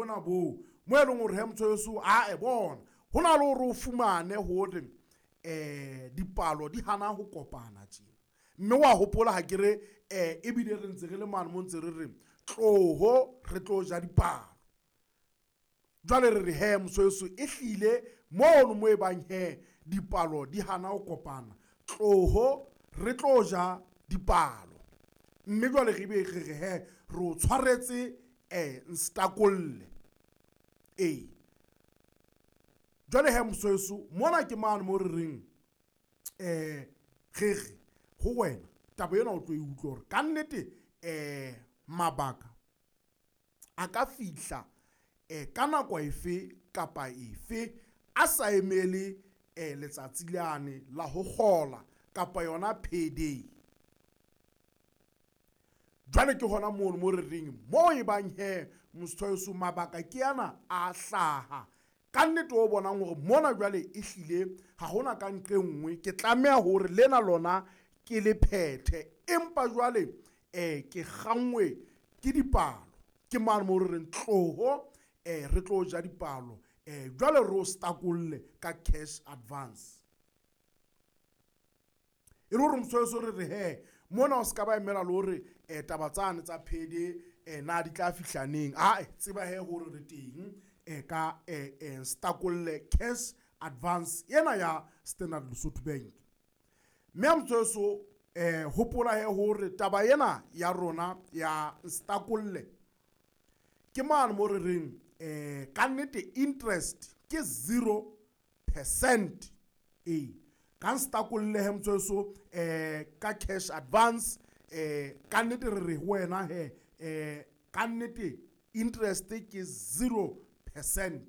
bona boo mo e leng hore he motho weso a e bona ho na le hore o fumane hore dipalo di hana ho kopana tjena. Mme wa hopola ha ke re ebile re ntse re le mane mo ntse re re tloho re tlo ja dipalo. Jwale re re he mosoeso e hlile mono mo e bang he dipalo di hana ho kopana, tloho re tlo ja dipalo. Mme jwale re be re re he re o tshwaretse nstakolle. Ee, jwale he mosoeso mona ke mane mo re reng re re ho wena taba ena o tlo e utlwa hore ka nnete mabaka a ka fihla ka nako efe kapa efe a sa emele letsatsi lane la ho kgola kapa yona payday. Jwale ke hona mono mo re reng mo e bang he motho mabaka ke ana a hlaha ka nnete o bonang hore mona jwale e hlile ha hona ka nqe nngwe ke tlameha hore lena lona ke le phethe, empa jwale ke kgangwe ke dipalo. Ke mane mo re reng tloho re tlo ja dipalo, jwale re o stakolle ka cash advance. E le hore motho re re he mona o ska ba emela le hore taba tsane tsa payday na di tla fihla neng. Ae, tseba he hore re teng ka stakolle cash advance ena ya Standard Lesotho Bank. Mme motho hopola he hore taba ena ya rona ya stakolle ke mane mo re reng ka nnete interest ke 0%. Ee, ka nstakolle he motho ka cash advance ka nnete re re ho wena he ka nnete interest ke 0%.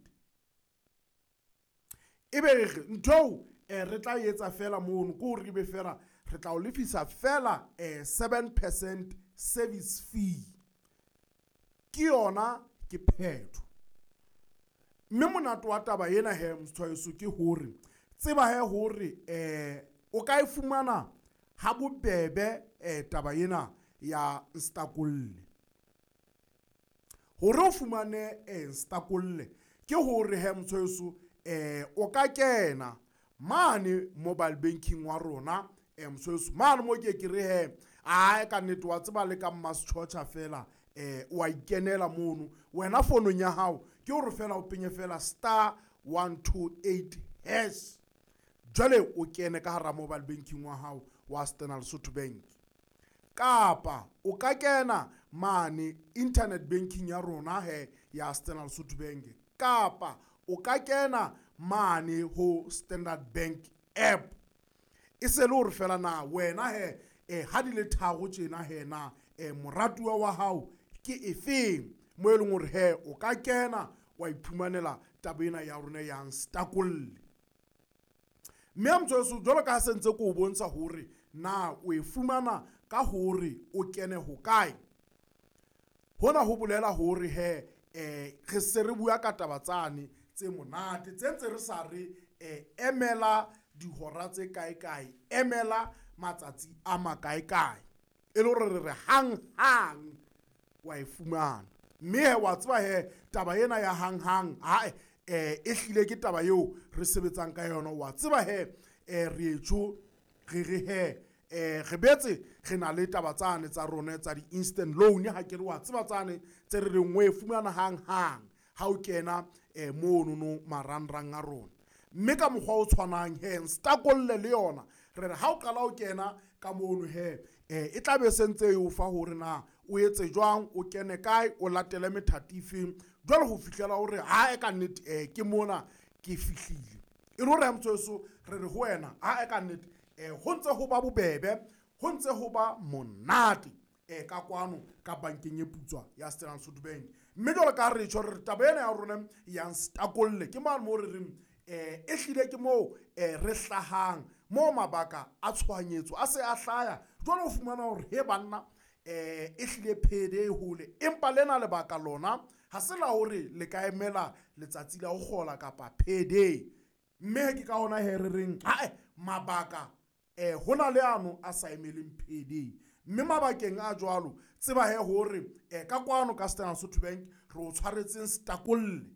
Ebe re ntho re tla etsa fela mono ke hore ebe fela re tla o lefisa fela 7% service fee. Ke yona ke phetho. Mme monate wa taba ena he motshwaeso ke hore tseba he hore o ka e fumana ha bobebe taba ena ya nstakolle. Hore o fumane nstakolle ke hore he motshwaeso o ka kena mane mobile banking wa rona motshwaeso mane mo ke ke re he ae ka nnete wa tseba le ka mmasetjhotjha fela wa ikenela mono wena fonong ya hao ke hore fela o penye fela *128# jwale o kene ka hara mobile banking wa hao wa Standard Lesotho Bank. Kapa o ka kena mane internet banking ya rona he ya Standard Lesotho Bank, kapa o ka kena mane ho Standard Bank app. E se le hore fela na wena he ha di le tharo tjena he na moratuwa wa hao ke efeng mo e leng hore he o ka kena wa iphumanela taba ena ya rona ya nstakolle. Mme motho jwalo ka ha se ntse ke o bontsha hore na o e fumana ka hore o kene ho kae, hona ho bolela hore he re se re bua ka taba tsane tse monate tse ntse re sa re emela dihora tse kae kae, emela matsatsi a makae kae, e le hore re re hang hang wa e fumana. Mme he wa tseba he taba ena ya hang hang ae e hlile ke taba eo re sebetsang ka yona. Wa tseba he re etjo re re he re betse re na le taba tsane tsa rona tsa di-instant loan. Ha ke re wa tseba tsane tse re reng o e fumana hang hang ha o kena mono no marangrang a rona. Mme ka mokgwa o tshwanang he nstakolle le yona re re ha o qala o kena ka mono he e tla be sentse e o fa hore na o etse jwang, o kene kae, o latele methati efeng jwale ho fihlela hore ha e ka nnete ke mona ke fihlile. E le hore motho re re ho wena ha e ka nnete ho ntse ho ba bobebe, ho ntse ho ba monate ka kwano ka bankeng e putswa ya Standard Lesotho Bank. Mme jwalo ka re tjho re taba ena ya rona ya nstakolle ke mane mo re reng e hlile ke moo re hlahang mo mabaka a tshohanyetso a se a hlaya. Jwale o fumana hore he banna e hlile payday hole, empa lena lebaka lona ha se la hore le ka emela letsatsi la ho kgola kapa payday. Mme ke ka hona he re reng ae mabaka hona le ano a sa emeleng payday. Mme mabakeng a jwalo tseba he hore ka kwano ka Standard Lesotho Bank re o tshwaretseng setakolle.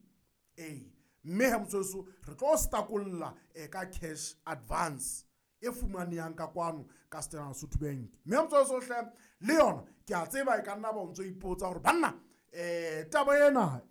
Ee, mme he motsweso re tlo setakolla ka cash advance e fumanehang ka kwano ka Standard Sotho Bank. Mme motsweso hle, le yona ke a tseba e ka nna ba o ntso ipotsa hore banna taba ena.